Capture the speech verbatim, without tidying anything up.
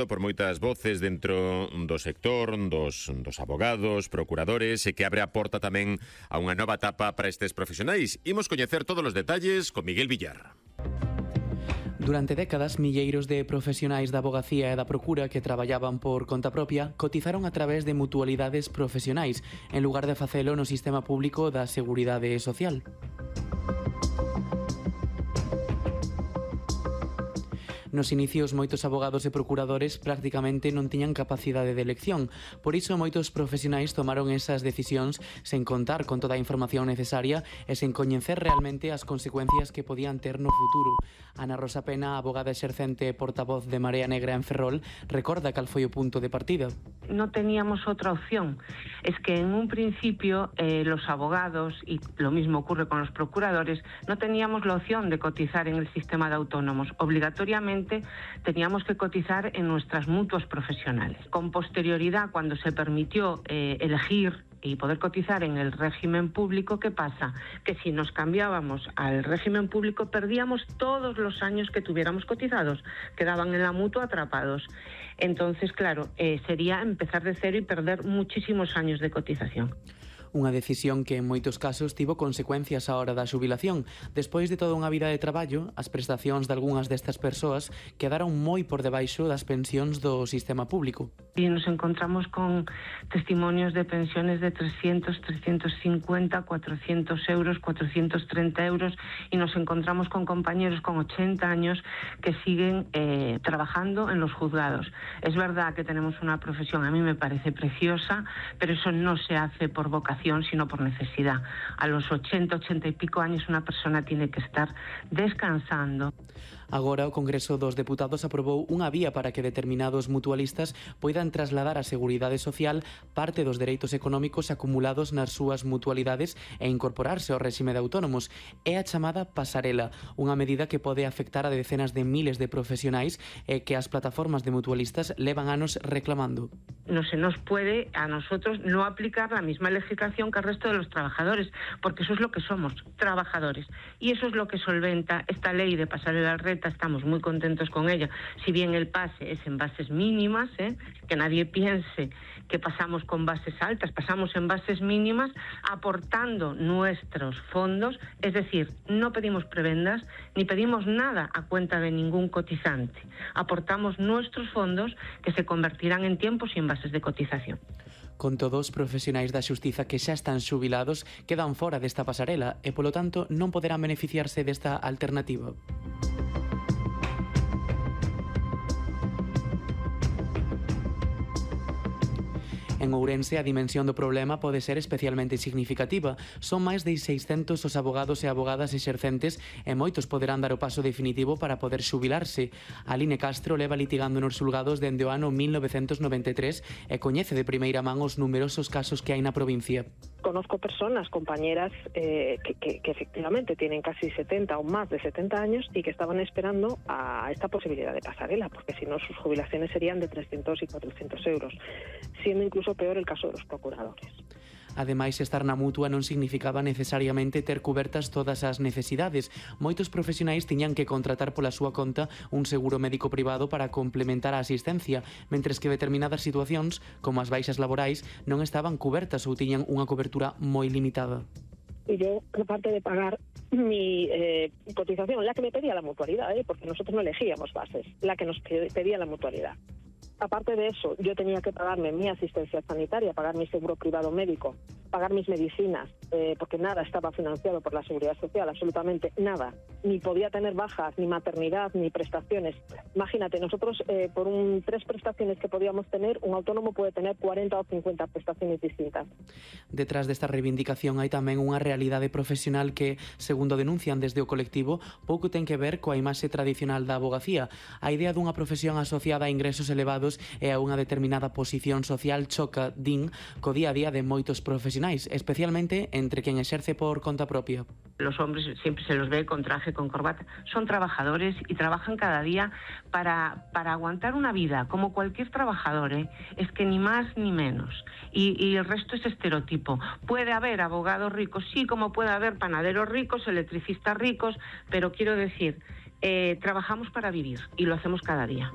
Por moitas voces dentro do sector, dos, dos abogados, procuradores, e que abre a porta tamén a unha nova etapa para estes profesionais. Imos coñecer todos os detalles con Miguel Villar. Durante décadas, milleiros de profesionais da abogacía e da procura que traballaban por conta propia cotizaron a través de mutualidades profesionais, en lugar de facelo no sistema público da Seguridade Social. Nos inicios, moitos abogados e procuradores prácticamente non tiñan capacidade de elección. Por iso, moitos profesionais tomaron esas decisións sen contar con toda a información necesaria e sen coñecer realmente as consecuencias que podían ter no futuro. Ana Rosa Pena, abogada exercente e portavoz de Marea Negra en Ferrol, recorda cal foi o punto de partida. No teníamos otra opción. Es que en un principio eh, los abogados, y lo mismo ocurre con los procuradores, no teníamos la opción de cotizar en el sistema de autónomos. Obligatoriamente teníamos que cotizar en nuestras mutuas profesionales. Con posterioridad, cuando se permitió eh, elegir y poder cotizar en el régimen público, ¿qué pasa? Que si nos cambiábamos al régimen público perdíamos todos los años que tuviéramos cotizados, quedaban en la mutua atrapados. Entonces, claro, eh, sería empezar de cero y perder muchísimos años de cotización. Unha decisión que en moitos casos tivo consecuencias á hora da xubilación. Despois de toda unha vida de traballo, as prestacións de algunhas destas persoas quedaron moi por debaixo das pensións do sistema público. Y nos encontramos con testimonios de pensiones de trescientos, trescientos cincuenta, cuatrocientos euros, cuatrocientos treinta euros, y nos encontramos con compañeros con ochenta años que siguen eh, trabajando en los juzgados. Es verdad que tenemos una profesión, a mí me parece preciosa, pero eso no se hace por vocación, sino por necesidad. A los ochenta, ochenta y pico años una persona tiene que estar descansando. Agora o Congreso dos Deputados aprobou unha vía para que determinados mutualistas poidan trasladar á Seguridade Social parte dos dereitos económicos acumulados nas súas mutualidades e incorporarse ao réxime de autónomos. É a chamada pasarela, unha medida que pode afectar a decenas de miles de profesionais e que as plataformas de mutualistas levan anos reclamando. No se nos puede a nosotros no aplicar la misma legislación que al resto de los trabajadores, porque eso es lo que somos, trabajadores. Y eso es lo que solventa esta ley de pasarela reta. Estamos muy contentos con ella. Si bien el pase es en bases mínimas, ¿eh? que nadie piense que pasamos con bases altas, pasamos en bases mínimas aportando nuestros fondos, es decir, no pedimos prebendas ni pedimos nada a cuenta de ningún cotizante. Aportamos nuestros fondos que se convertirán en tiempo sin bases de cotización. Con todos, os profesionais da xustiza que xa están xubilados quedan fora desta pasarela e, polo tanto, non poderán beneficiarse desta alternativa. En Ourense, a dimensión do problema pode ser especialmente significativa. Son máis de seiscentos os abogados e abogadas exercentes e moitos poderán dar o paso definitivo para poder xubilarse. Aline Castro leva litigando nos xulgados dende o ano mil novecentos noventa e tres e coñece de primeira man os numerosos casos que hai na provincia. Conozco personas, compañeras, eh, que, que, que efectivamente tienen casi setenta o más de setenta años y que estaban esperando a esta posibilidad de pasarela, porque si no sus jubilaciones serían de trescientos y cuatrocientos euros, siendo incluso peor el caso de los procuradores. Ademais, estar na mutua non significaba necesariamente ter cubertas todas as necesidades. Moitos profesionais tiñan que contratar pola súa conta un seguro médico privado para complementar a asistencia, mentres que determinadas situacións, como as baixas laborais, non estaban cubertas ou tiñan unha cobertura moi limitada. Y yo, aparte de pagar mi eh, cotización, la que me pedía la mutualidad, ¿eh? porque nosotros no elegíamos bases, la que nos pedía la mutualidad. Aparte de eso, yo tenía que pagarme mi asistencia sanitaria, pagar mi seguro privado médico, pagar mis medicinas, eh, porque nada estaba financiado por la Seguridad Social, absolutamente nada. Ni podía tener bajas, ni maternidad, ni prestaciones. Imagínate, nosotros eh, por un, tres prestaciones que podíamos tener, un autónomo puede tener cuarenta o cincuenta prestaciones distintas. Detrás desta reivindicación hai tamén unha realidade profesional que, segundo denuncian desde o colectivo, pouco ten que ver coa imaxe tradicional da abogacía. A idea dunha profesión asociada a ingresos elevados e a unha determinada posición social choca, din, co día a día de moitos profesionais, especialmente entre quen exerce por conta propia. Los hombres siempre se los ve con traje, con corbata. Son trabajadores y trabajan cada día para, para aguantar una vida, como cualquier trabajador, ¿eh? Es que ni más ni menos. Y, y el resto es estereotipo. Puede haber abogados ricos, sí, como puede haber panaderos ricos, electricistas ricos, pero quiero decir, eh, trabajamos para vivir y lo hacemos cada día.